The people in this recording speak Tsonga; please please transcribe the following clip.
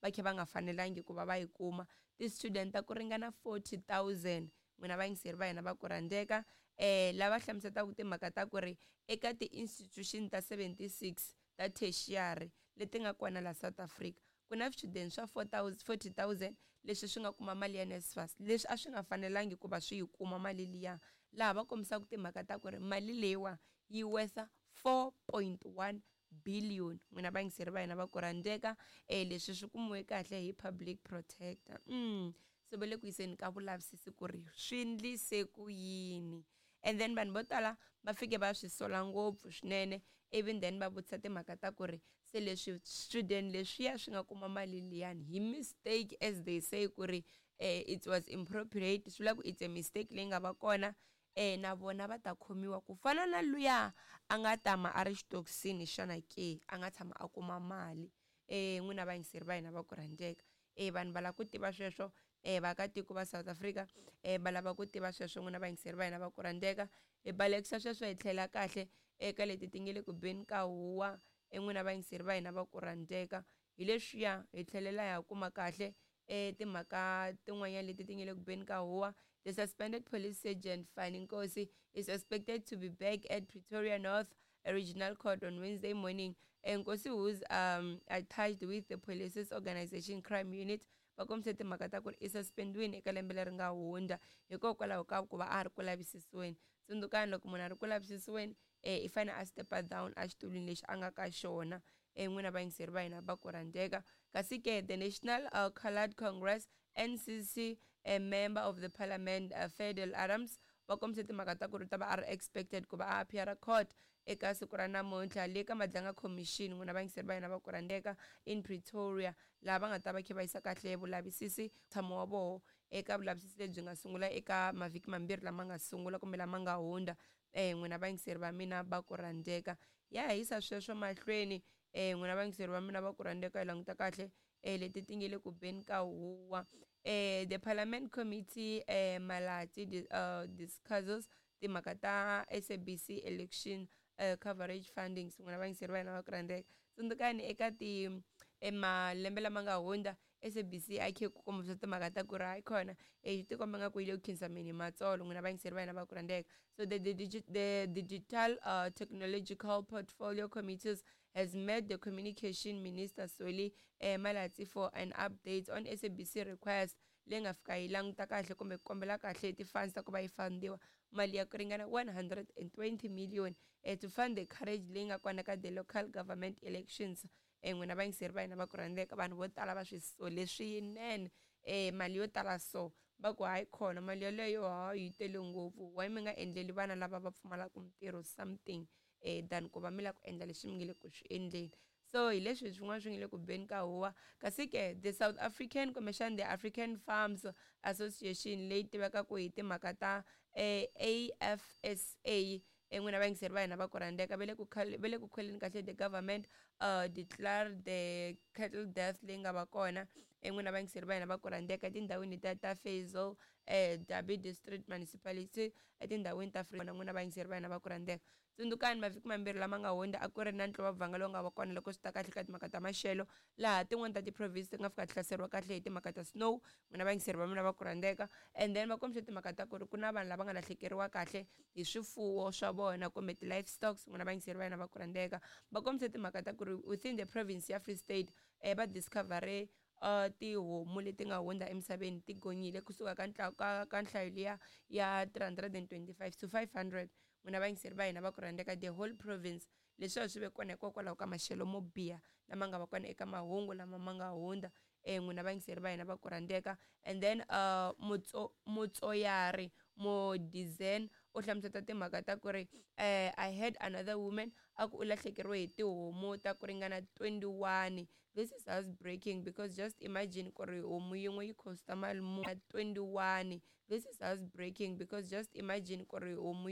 Va kha va nga fanelangi ku va va yi kuma. Ti-student ta ku ringana 40,000, n'wina vayingiseri va hina va ku rhandzeka, lava hlamuselaka timhaka ta ku ri eka ti-institution ta 76 ta tertiary leti nga kona la South Africa, ku na swichudeni swa 40,000 leswi swi nga kuma mali ya NSFAS leswi a swi nga fanelangi ku va swi yi kuma mali liya, laha va kombisaka timhaka ta ku ri mali leyiwa yi wesa 4.1 billion. N'wina vayingiseri va hina va ku rhandzeka, leswi swi kumiwe kahle hi public protector. Se va le ku yiseni ka vulavisisi ku ri swi ndlise ku yini, and then vanhu vo tala va fike va swi sola ngopfu swinene, even then va vutisa timhaka ta ku ri se leswi student leswiya swi nga kuma mali liyani hi mistake, as they say ku ri it was impropriate, swi vula ku it's a mistake leyi nga va kona, na vona va ta khomiwa ku fana na luya a nga tama a ri xitokisini xana ke, a nga tshama a kuma mali. N'wina vayingiseri va hina va ku rhandzeka, vanhu va lava ku tiva sweswo, vaakatiko va South Africa va lava ku tiva sweswo. N'wina vayingiseri va hina va ku rhandzeka, hi balekisa sweswo hi tlhela kahle eka leti ti nge le ku beni ka huwa. N'wina vayingiseri va hina va ku rhandzeka, hi leswiya hi tlhelela ya kuma kahle timhaka tin'wanyana leti ti nge le ku beni ka huwa. The suspended police sergeant Fani Nkosi is expected to be back at Pretoria North Regional Court on Wednesday morning. Nkosi, who's attached with the police's organization crime unit, va kombise timhaka ta ku ri i suspendiwini eka lembe leri nga hundza hikokwalaho ka ku va a ri ku lavisisiweni. Tsundzukani, loko munhu a ri ku lavisisiweni, i fanele a stepa down exitulwini lexi a nga ka xona. N'wina vayingiseri va hina va ku rhandzeka, kasi ke the National Coloured Congress, NCC, a member of the parliament, Fadil Adams, va kombise timhaka ta ku ri ta va a ri expected ku va a appear court eka siku ra namuntlha le ka Madlanga Commission, n'wina vayingiseri va hina va ku rhandzeka, in Pretoria, laha va nga ta va kha va yisa kahle vulavisisi tshamo wa voho eka vulavisisi lebyi nga sungula eka mavhiki mambirhi lama nga sungula kumbe lama nga hundza. N'wina vayingiseri va mina va ku rhandzeka, ya hisa sweswo mahlweni. N'wina vayingiseri va mina va ku rhandzeka, hi languta kahle leti ti nge le ku beni ka huwa. The parliament committee Malatsi discusses timhaka ta SABC election coverage fundings. N'wina vayingiseri va hina va ku rhandzeka, tsundzukani eka ti malembe lama nga hundza SABC a khe ku kombisa timhaka ta ku ri hayi khona, swi tikomba nga ku yi le ku khinsameni hi matsolo. N'wina vayingiseri va hina va ku rhandzeka, so the digital technological portfolio committees has met the communication minister Soli Malatsi for an update on SABC request leyi nga fika yi languta kahle kumbe ku kombela kahle ti-funds ta ku va yi fundiwa mali ya ku ringana 120 million to fund the coverage leyi nga kona ka the local government elections. N'wina vayingiseri va hina va ku rhandzeka, vanhu vo tala va swi sole swinene, mali yo tala, so va ku hayi khona, mali yeleyo ha yi tele ngopfu, why mi nga endleli vana lava va pfumalaka mintirho something than ku va mi lava ku endla leswi mi nge le ku swi endleni? So hi leswi swin'wana swi nge le ku beni ka huwa. Kasi ke the South African, kumbexana the African Farms Association leyi tivekaka hi timhaka ta AFSA, n'wina vayingiseri va hina va ku rhandzeka, va le ku kholeni kahle the government declare the cattle death leyi nga va kona, n'wina vayingiseri va hina va ku rhandzeka, etindhawini ta Faisal Dabi District Municipality etindhawini ta Free. N'wina vayingiseri va hina va ku rhandzeka, tsundzukani mavhiki mambirhi lama nga hundza a ku ri na ntlovabvanga lowu nga va kona loko swi ta kahle ka timhaka ta maxelo, laha tin'wani ta ti-province ti nga fika ti hlaseriwa kahle hi timhaka ta snow, n'wina vayingiseri va mina va ku rhandzeka. And then va kombise timhaka ta ku ri ku na vanhu lava nga lahlekeriwa kahle hi swifuwo swa vona kumbe ti-livestocks. N'wina vayingiseri va hina va ku rhandzeka, va kombise timhaka ta ku ri within the province ya Free State va discovere tihomu leti nga hundza emisaveni ti gonyile kusuka ka nhlayo liya ya 325 to 500, n'wina vayingiseri va hina va ku rhandzeka, the whole province. Leswiya swi ve kona hikokwalaho ka maxelo mo biha lama nga va kona eka mahungu lama ma nga hundza, n'wina vayingiseri va hina va ku rhandzeka. And then Mutsoyari Modizen u hlamuseta timhaka ta ku ri I had another woman a ku u lahlekeriwe hi tihomu ta ku ringana 21. This is heartbreaking because just imagine ku ri homu yin'we yi costa mali muni. 21. This is heartbreaking because just imagine ku ri homu